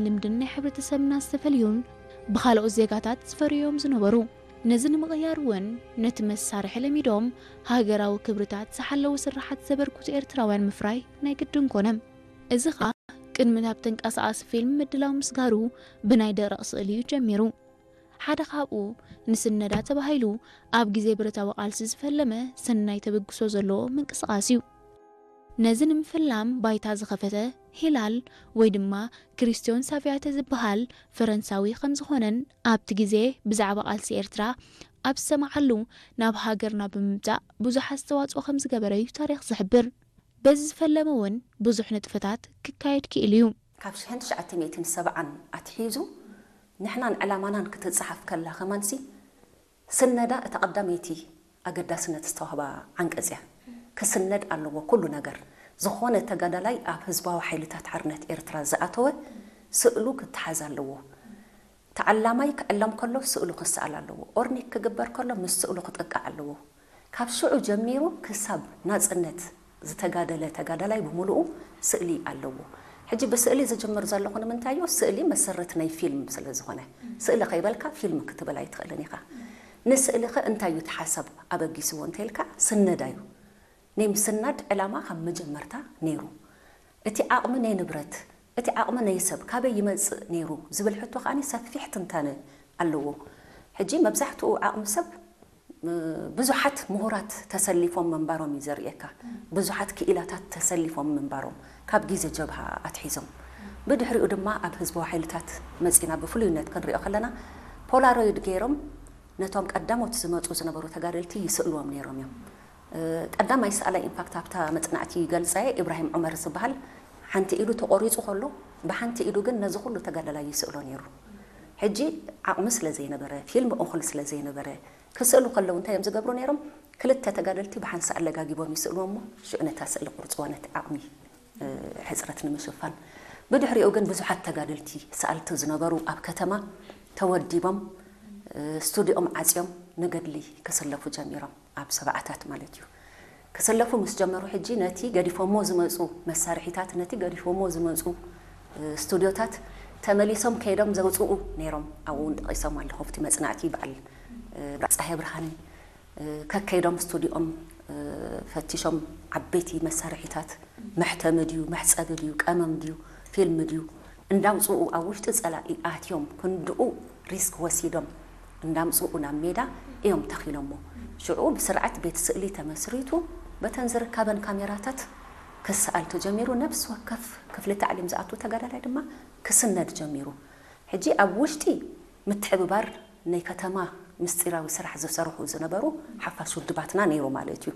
ልምድን ናይ ሕብረተሰብና ዝተፈልዩን ብኻልኦት ዜጋታት ዝፈርዮም ዝነበሩ። ነዚ ንምቕያር እውን ነቲ መሳርሒ ለሚዶም ሃገራዊ ክብርታት ዝሓለዉ ስራሓት ዘበርክቱ ኤርትራውያን ምፍራይ ናይ ግድን ኮነ። እዚ ኸኣ ቅድሚ ናብ ተንቀሳቓሲ ፊልም ምድላው ምስጋሩ ብናይ ደረቕ ስእሊ እዩ ጀሚሩ። ሓደ ካብኡ ንስነዳ ተባሂሉ ኣብ ግዜ ብረታዊ ቃልሲ ዝፈለመ ሰናይ ተበግሶ ዘለዎ ምንቅስቓስ እዩ። ነዚ ንምፍላም ባይታ ዝኸፈተ ሂላል ወይ ድማ ክሪስቲዮን ሳቪያተ ዝበሃል ፈረንሳዊ ከም ዝኾነን ኣብቲ ግዜ ብዛዕባ ቃልሲ ኤርትራ ኣብ ዝሰማዓሉ ናብ ሃገርና ብምምጻእ ብዙሕ ኣስተዋጽኦ ከም ዝገበረ እዩ ታሪኽ ዝሕብር። በዚ ዝፈለመ እውን ብዙሕ ንጥፈታት ክካየድ ክኢሉ እዩ። ካብ ሽሕን ትሽዓተ ሚእትን ሰብዓን ኣትሒዙ ንሕናን ዕላማናን ክትጽሓፍ ከላ ከማንሲ ስነዳ እታ ቀዳመይቲ ኣገዳስነት ዝተዋህባ ዓንቀጽ እያ። ክስነድ ኣለዎ ኩሉ ነገር። ዝኾነ ተጋዳላይ ኣብ ህዝባዊ ሓይልታት ሓርነት ኤርትራ ዝኣተወ ስእሉ ክተሓዝ ኣለዎ። ተዓላማይ ክዕለም ከሎ ስእሉ ክሰኣል ኣለዎ። ኦርኒክ ክግበር ከሎ ምስ ስእሉ ክጥቃዕ ኣለዎ። ካብ ሽዑ ጀሚሩ ክሳብ ናጽነት ዝተጋደለ ተጋዳላይ ብምሉኡ ስእሊ ኣለዎ። ሕጂ ብስእሊ ዝጅምር ዘለኹ ንምንታይ እዩ? ስእሊ መሰረት ናይ ፊልም ስለ ዝኾነ። ስእሊ ከይበልካ ፊልም ክትብል ኣይትኽእልን ኢኻ። ንስእሊ ኸ እንታይ እዩ እቲ ሓሳብ ኣበጊስዎ እንተኢልካ፣ ስነዳ እዩ። ናይ ምስናድ ዕላማ ካብ መጀመርታ ነይሩ። እቲ ዓቕሚ ናይ ንብረት፣ እቲ ዓቕሚ ናይ ሰብ ካበይ ይመጽእ ነይሩ ዝብል ሕቶ ከኣ ሰፊሕ ትንታነ ኣለዎ። ሕጂ መብዛሕትኡ ዓቕሚ ሰብ፣ እ፣ ብዙሓት ምሁራት ተሰሊፎም ምንባሮም እዩ ዘርእየካ። ብዙሓት ክኢላታት ተሰሊፎም ምንባሮም ካብ ግዜ ጀብሃ ኣትሒዞም። ብድሕሪኡ ድማ ኣብ ህዝባዊ ሓይልታት መጺና ብፍሉይነት ክንሪኦ ከለና ፖላሮይድ ገይሮም ነቶም ቀዳሞት ዝመጹ ዝነበሩ ተጋደልቲ ይስእልዎም ነይሮም እዮም። እ፣ ቀዳማይ ሰኣላይ ኢንፋክት ኣብታ መጽናዕቲ ይገልጻ እየ፣ ኢብራሂም ዑመር ዝበሃል ሓንቲ ኢዱ ተቖሪጹ ከሎ ብሓንቲ ኢዱ ግን ነዚ ኩሉ ተጋዳላይ ይስእሎ ነይሩ። ሕጂ ዓቕሚ ስለ ዘይነበረ፣ ፊልም እኹል ስለ ዘይነበረ፣ ክስእሉ ከለዉ እንታይ እዮም ዝገብሩ ነይሮም? ክልተ ተጋደልቲ ብሓንሳእ ኣለጋጊቦም ይስእልዎም እሞ ሽዑ ነታ ስእሊ ቁርጽዋ ነቲ ዓቕሚ፣ እ፣ ሕጽረት ንምሽፋን። ብድሕሪኡ ግን ብዙሓት ተጋደልቲ ሰኣልቲ ዝነበሩ ኣብ ከተማ ተወዲቦም፣ እ፣ ስቱዲኦም ዓጽዮም ንገድሊ ክስለፉ ጀሚሮም። ኣብ ሰብዓታት ማለት እዩ። ክስለፉ ምስ ጀመሩ ሕጂ ነቲ ገዲፎሞ ዝመጹ መሳርሒታት፣ ነቲ ገዲፎሞ ዝመጹ፣ እ፣ ስቱዲዮታት ተመሊሶም ከይዶም ዘውጽኡ ነይሮም። ኣብኡ እውን ጠቒሶም ኣለኹ። ኣብቲ መጽናዕቲ በዓል፣ እ፣ ጸሃየ ብርሃነ፣ እ፣ ከከይዶም ስቱዲኦም፣ እ፣ ፈቲሾም ዓበይቲ መሳርሒታት፣ መሕተሚ ድዩ፣ መሕጸቢ ድዩ፣ ቀመም ድዩ፣ ፊልም ድዩ፣ እንዳውጽኡ ኣብ ውሽጢ ጸላኢ ኣትዮም ክንድኡ ሪስክ ወሲዶም እንዳምጽኡ ናብ ሜዳ እዮም ተኺሎሞ። ሽዑ ብስርዓት ቤት ስእሊ ተመስሪቱ በተን ዝርካበን ካሜራታት ክሰኣል ተጀሚሩ። ነብሲ ወከፍ ክፍሊ ታዕሊም ዝኣቱ ተጋዳላይ ድማ ክስነድ ጀሚሩ። ሕጂ ኣብ ውሽጢ ምትሕብባር ናይ ከተማ ምስጢራዊ ስራሕ ዝሰርሑ ዝነበሩ ሓፋሽ ውድባትና ነይሩ ማለት እዩ።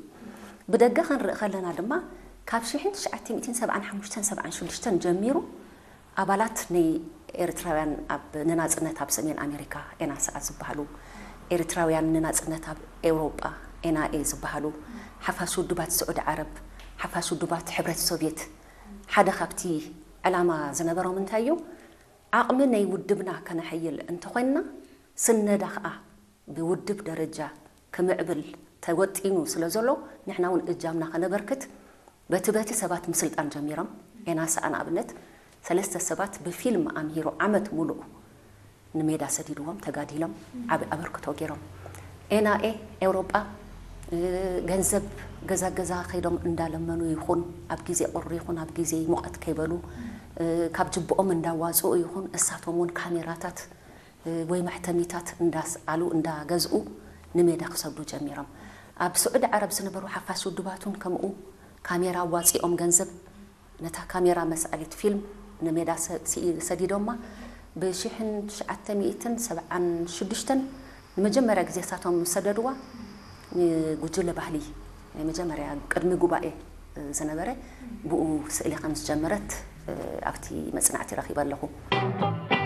ብደገ ክንርኢ ከለና ድማ ካብ ሽሕን ትሽዓተ ሚእትን ሰብዓን ሓሙሽተን ሰብዓን ሽዱሽተን ጀሚሩ ኣባላት ናይ ኤርትራውያን ኣብ ንናጽነት ኣብ ሰሜን ኣሜሪካ ኤናስኣ ዝበሃሉ፣ ኤርትራውያን ንናጽነት ኣብ ኤውሮጳ ኤንኤ ዝበሃሉ፣ ሓፋሽ ውድባት ስዑዲ ዓረብ፣ ሓፋሽ ውድባት ሕብረት ሶቭየት፣ ሓደ ካብቲ ዕላማ ዝነበሮም እንታይ እዩ? ዓቕሚ ናይ ውድብና ከነሐይል እንተኾይንና፣ ስነዳ ኸኣ ብውድብ ደረጃ ክምዕብል ተወጢኑ ስለ ዘሎ፣ ንሕና እውን እጃምና ከነበርክት በቲ በቲ ሰባት ምስልጣን ጀሚሮም። ኤናስኣ ንኣብነት ሰለስተ ሰባት ብፊልም ኣምሂሩ ዓመት ሙሉእ ንሜዳ ሰዲድዎም፣ ተጋዲሎም፣ ዓቢ ኣበርክቶ ገይሮም። ኤንኤ ኤውሮጳ፣ እ፣ ገንዘብ ገዛ ገዛ ከይዶም እንዳለመኑ ይኹን፣ ኣብ ግዜ ቁሪ ይኹን ኣብ ግዜ ሙቐት ከይበሉ፣ እ፣ ካብ ጅብኦም እንዳዋጽኡ ይኹን፣ እሳቶም እውን ካሜራታት፣ እ፣ ወይ መሕተሚታት እንዳስኣሉ እንዳገዝኡ ንሜዳ ክሰዱ ጀሚሮም። ኣብ ስዑዲ ዓረብ ዝነበሩ ሓፋሽ ውድባት እውን ከምኡ ካሜራ ኣዋጺኦም ገንዘብ ነታ ካሜራ መስኣሊት ፊልም ንሜዳ ሰ-፣ ስኢ-፣ ሰዲዶማ። ብሽሕን ትሽዓተ ሚእትን ሰብዓን ሽዱሽተን ንመጀመርያ ግዜ እሳቶም ሰደድዋ ንጉጅለ ባህሊ ናይ መጀመርያ ቅድሚ ጉባኤ ዝነበረ ብኡ ስእሊ ከም ዝጀመረት ኣብቲ መጽናዕቲ ረኺበ ኣለኹ።